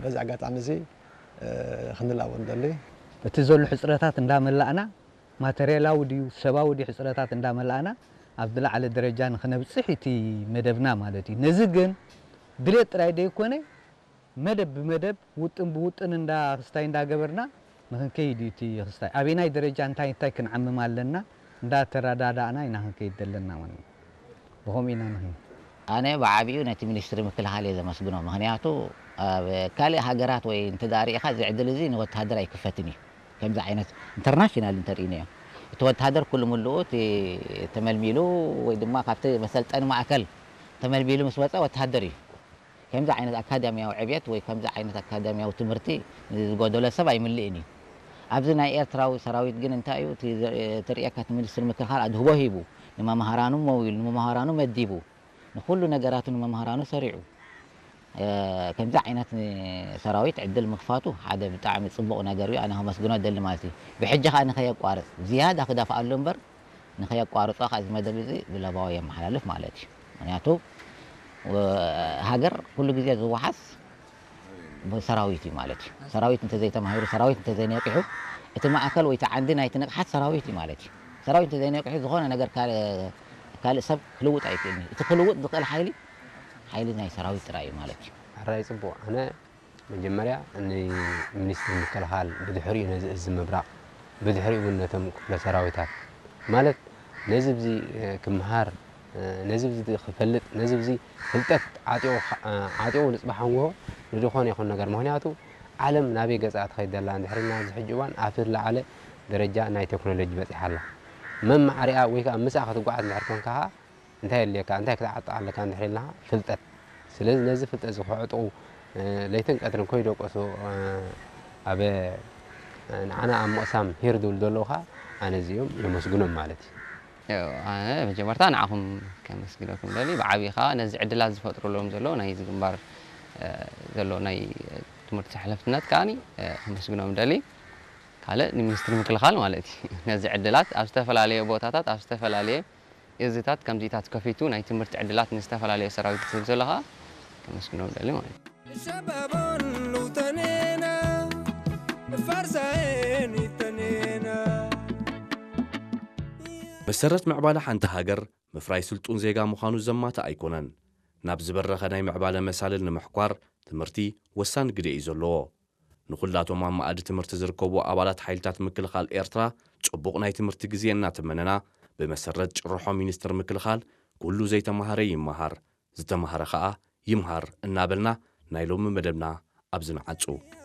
በዚ ኣጋጣሚ እዚ ክንላቦ ንደሊ። እቲ ዘሎ ሕፅረታት እንዳመላእና፣ ማተርያላዊ ድዩ ሰባዊ ድዩ ሕፅረታት እንዳመላእና፣ ኣብ ዝለዓለ ደረጃ ንክነብፅሕ እቲ መደብና ማለት እዩ። ነዚ ግን ድሌት ጥራይ ዘይኮነ፣ መደብ ብመደብ፣ ውጥን ብውጥን እንዳ ክስታይ እንዳገበርና ንክንከይድ እዩ እቲ ክስታይ። ኣበየናይ ደረጃ እንታይ እንታይ ክንዓምም ኣለና እንዳተረዳዳእና ኢና ክንከይድ ዘለና ማለት እዩ። ብኸምኡ ኢና ንኽን ኣነ ብዓቢኡ ነቲ ሚኒስትሪ ምክልኻል እየ ዘመስግኖ። ምኽንያቱ ኣብ ካልእ ሃገራት ወይ እንተ ደኣ ርኢኻ እዚ ዕድል እዚ ንወተሃደር ኣይክፈትን እዩ። ከምዚ ዓይነት ኢንተርናሽናል እንተርኢናዮ እቲ ወተሃደር ኩሉ ምሉኡ እቲ ተመልሚሉ ወይ ድማ ካብቲ መሰልጠኒ ማእከል ተመልሚሉ ምስ ወፀ ወተሃደር እዩ። ከምዚ ዓይነት ኣካዳሚያዊ ዕብየት ወይ ከምዚ ዓይነት ኣካዳሚያዊ ትምህርቲ ዝጎደሎ ሰብ ኣይምልእን እዩ። ኣብዚ ናይ ኤርትራዊ ሰራዊት ግን እንታይ እዩ እቲ ዘ- ትርእየካ እቲ ሚኒስትሪ ምክልኻል ኣድህቦ ሂቡ ንመምሃራኑ መዊሉ ንመምሃራኑ መዲቡ ንኩሉ ነገራቱ ንመምሃራኑ ሰሪዑ ከምዚ ዓይነት ሰራዊት ዕድል ምክፋቱ ሓደ ብጣዕሚ ፅቡቕ ነገር እዩ። ኣነ ከመስግኖ ደሊ ማለት እዩ። ብሕጂ ከዓ ንኸየቋርፅ ዝያዳ ክደፍኣሉ እምበር ንኸየቋርፆ ከዓ እዚ መደብ እዚ ብለባዊ የመሓላልፍ ማለት እዩ። ምክንያቱ ሃገር ኩሉ ግዜ ዝወሓስ ብሰራዊት እዩ ማለት እዩ። ሰራዊት እንተዘይተማሂሩ፣ ሰራዊት እንተዘይነቂሑ እቲ ማእከል ወይ እቲ ዓንዲ ናይቲ ንቕሓት ሰራዊት እዩ ማለት እዩ። ሰራዊት እንተዘይነቂሑ ዝኾነ ነገር ካልእ ሰብ ክልውጥ ኣይክእልን እዩ። እቲ ክልውጥ ዝኽእል ሓይሊ ሓይሊ ናይ ሰራዊት ጥራይ እዩ ማለት እዩ። ሕራይ ፅቡቕ። ኣነ መጀመርያ ንሚኒስትሪ ምክልኻል፣ ብድሕሪኡ ነዚ እዚ ምብራቕ፣ ብድሕሪኡ እውን ነቶም ክፍለ ሰራዊታት ማለት ነዚ ብዚ ክምሃር ነዚ ብዚ ክፈልጥ ነዚ ብዚ ፍልጠት ዓጢቑ ዓጢቑ ንፅባሕ ንጎሆ ንድኾነ ይኹን ነገር ምክንያቱ ዓለም ናበይ ገፃ ትኸይድ ዘላ እንድሕርና ኣብዚ ሕጂ እዋን ኣብ ዝለዓለ ደረጃ ናይ ቴክኖሎጂ በፂሓ ኣላ። መማዕሪኣ ወይ ከዓ ምስኣ ክትጓዓዝ እንድሕር ኮንካ ከዓ እንታይ የድልየካ እንታይ ክትዓጥቕ ኣለካ እንድሕር ኢልና ፍልጠት ስለዚ ነዚ ፍልጠት እዚ ክዕጥቑ ለይትን ቀትርን ከይደቀሱ ኣብ ንዓና ኣብ ምቕሳም ሂር ዝብሉ ዘለዉ ከዓ ኣነ እዚኦም የመስግኖም ማለት እዩ። ኣነ መጀመርታ ንዓኹም ከመስግነኩም ደሊ ብዓብዪ ከዓ ነዚ ዕድላት ዝፈጥሩሎም ዘሎ ናይ ግንባር ዘሎ ናይ ትምህርቲ ሓለፍትነት ከዓ ከመስግኖም ደሊ ካልእ ንሚኒስትሪ ምክልኻል ማለት እዩ ነዚ ዕድላት ኣብ ዝተፈላለየ ቦታታት ኣብ ዝተፈላለየ እዝታት ከምዚታት ከፊቱ ናይ ትምህርቲ ዕድላት ንዝተፈላለየ ሰራዊት ዝህብ ዘሎ ከዓ ከመስግኖም ደሊ ማለት እዩ። ሸባቦን ልውጠኔና ፋርሳኤን ይጠኔና መሰረት ምዕባለ ሓንቲ ሃገር ምፍራይ ስልጡን ዜጋ ምዃኑ ዘማትእ ኣይኮነን። ናብ ዝበረኸ ናይ ምዕባለ መሳልል ንምሕኳር ትምህርቲ ወሳኒ ግደ እዩ ዘለዎ። ንኹላቶም ኣብ መኣዲ ትምህርቲ ዝርከቡ ኣባላት ሓይልታት ምክልኻል ኤርትራ ጽቡቕ ናይ ትምህርቲ ግዜ እናተመነና፣ ብመሰረት ጭርሖ ሚኒስትር ምክልኻል ኩሉ ዘይተማሃረ ይመሃር፣ ዝተማህረ ኸኣ ይምሃር እናበልና ናይ ሎሚ መደብና ኣብዚ ንዓጹ።